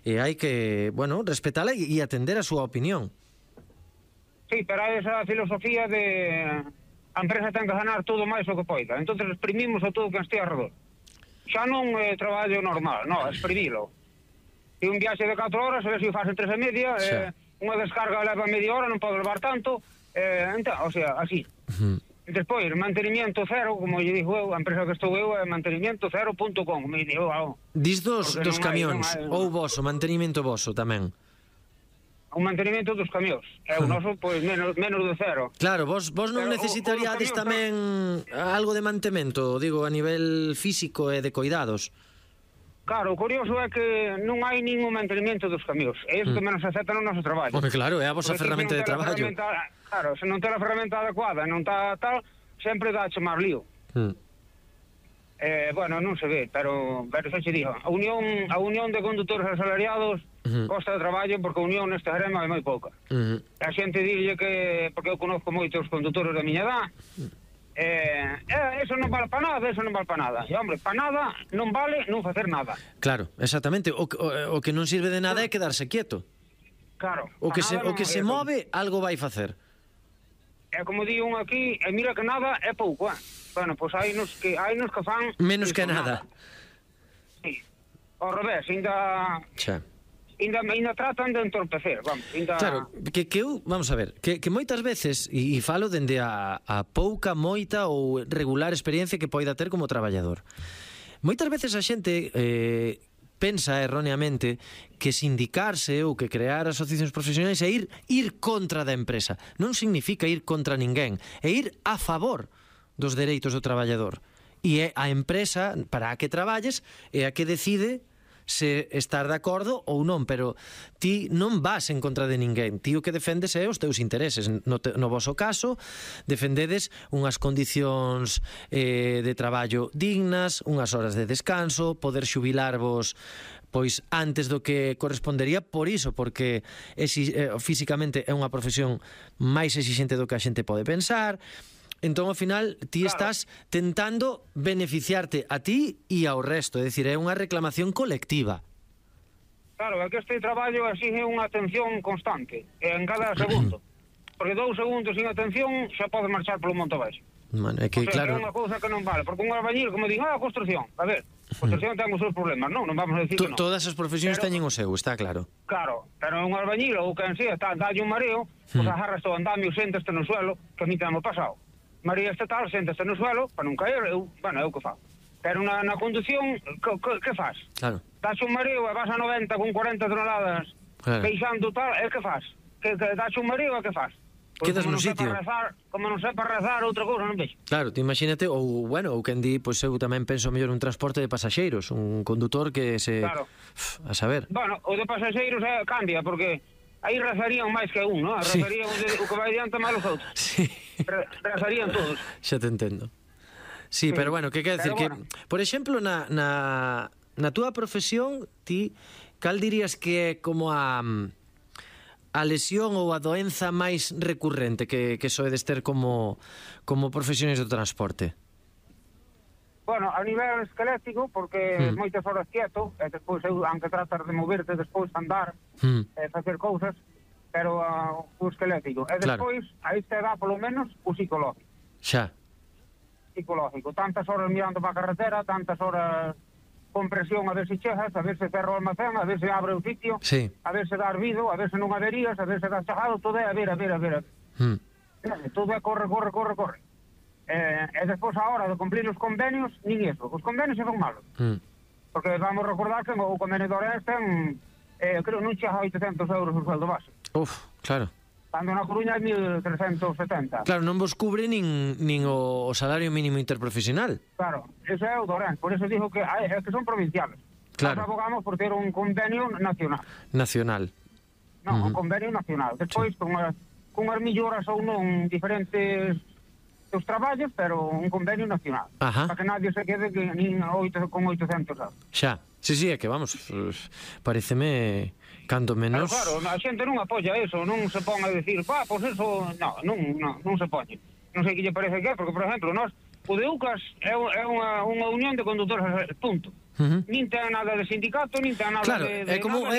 e hai que, bueno, respetala e atender a súa opinión. Sí, pero hai esa filosofía de a empresa ten que ganar todo máis o que poida, entonces exprimimos a todo que estea alrededor. Xa non é traballo normal, non, exprimilo. E un viaxe de 4 horas, a ver se o faz en 3:30, unha descarga leva media hora, non pode levar tanto, entón, o sea, así. Despois, mantenimiento cero, como lle digo eu, a empresa que estou eu é mantenimiento cero.com, me digo, Dis dos camións, ou voso, mantenimento voso tamén. O mantenimento dos camións, é o noso, pois, menos de cero. Claro, vos non necesitaríades tamén algo de mantemento, digo, a nivel físico e de cuidados. Claro, o curioso é que non hai ningún mantenimento dos camións, é iso que menos acepta no noso traballo. Home, claro, é a vosa ferramenta de traballo. Claro, se non ten a ferramenta adecuada, non está tal, sempre dá che máis lío. Bueno, non se ve, pero xa che digo, a unión de condutores asalariados costa de traballo porque a unión neste gremio é moi pouca. A xente dille que, porque eu conozco moitos condutores da miña edad, eso non vale para nada, eso non vale para nada. E, hombre, para nada non vale non facer nada. Claro, exactamente. O que non sirve de nada é quedarse quieto. Claro. O que se move, algo vai facer. É como di un aquí, e mira que nada é pouco, Bueno, pois hai nos que fan menos que nada. Sí. Ao revés, ainda tratan de entorpecer, vamos, Claro, que eu, vamos a ver, que moitas veces, e falo dende a pouca, moita ou regular experiencia que poida ter como traballador. Moitas veces a xente pensa erróneamente que sindicarse ou que crear asociacións profesionais é ir contra da empresa. Non significa ir contra ninguén, é ir a favor dos dereitos do traballador. E é a empresa para a que traballes é a que decide se estar de acordo ou non, pero ti non vas en contra de ninguén. Ti o que defendes é os teus intereses. No voso caso, defendedes unhas condicións de traballo dignas, unhas horas de descanso, poder xubilarvos pois antes do que correspondería, por iso, porque físicamente é unha profesión máis exixente do que a xente pode pensar. Entón, ao final, ti estás tentando beneficiarte a ti e ao resto, é dicir, é unha reclamación colectiva. Claro, é que este traballo exige unha atención constante, en cada segundo. Porque 2 segundos sin atención xa pode marchar polo monte abaixo. Bueno, é que, claro, é unha cousa que non vale, porque un albañil, como digo, a construción, a ver, a construción ten os seus problemas, non vamos a decir que non. Todas as profesións teñen o seu, está claro. Claro, pero un albañil ou quen sea, dalle un mareo, pois agarras o andamio, séntaste no suelo, que a mí temo pasado. María estatal, séntaste no suelo, para non caer, é o que fa. Pero na conducción, que faz? Claro. Dache un mareo e vas a 90 con 40 toneladas, peixando tal, e que faz? Dache un mareo e que faz? Quedas no sitio. Como non sepa rezar, outra cousa non vexo. Claro, te imagínate, ou quen di, pois eu tamén penso mellor un transporte de pasaxeiros, un condutor que se... Claro. A saber. Bueno, o de pasaxeiros cambia, porque aí rezarían máis que un, non? Rezarían o que vai diante máis os outros. Sí. Rezarían todos. Xa te entendo. Sí, pero bueno, que quer decir que, por exemplo, na túa profesión, ti, cal dirías que é como a lesión ou a doenza máis recurrente que soedes ter como profesionais do transporte? Bueno, a nivel esquelético, porque moitas horas quieto, e despois aunque tratar de moverte, despois andar, facer cousas, pero o esquelético. E despois, aí te dá polo menos o psicológico. Xa. Psicológico. Tantas horas mirando para a carretera, tantas horas con presión a ver se chegas, a ver se cerra o almacén, a ver se abre o sitio, a ver se dá arvido, a ver se non averías, a ver se dá chajado, todo é a ver. Todo é corre. E despois a hora de cumplir os convenios, nin iso. Os convenios se son malos. Porque vamos recordar que o convenio de Orense ten, creo, non chega a 800 euros o sueldo base. Claro. Cando na Coruña é 1.370. Claro, non vos cubre nin o salario mínimo interprofesional. Claro, ese é o do Orense. Por eso dijo que son provinciales. Claro. Nós abogamos por ter un convenio nacional. Non, un convenio nacional. Despois, con as melloras ou non diferentes dos traballos, pero un convenio nacional. Para que nadie se quede nin con 800 euros. Xa. Sí, é que vamos, pareceme canto menos... Pero claro, a xente non apoia eso, non se pon a decir, pois eso, non se pone. Non sei que lle parece que é, porque, por exemplo, o de UCAS é unha unión de condutores, punto. Nin ten nada de sindicato, nin ten nada de... Claro, é como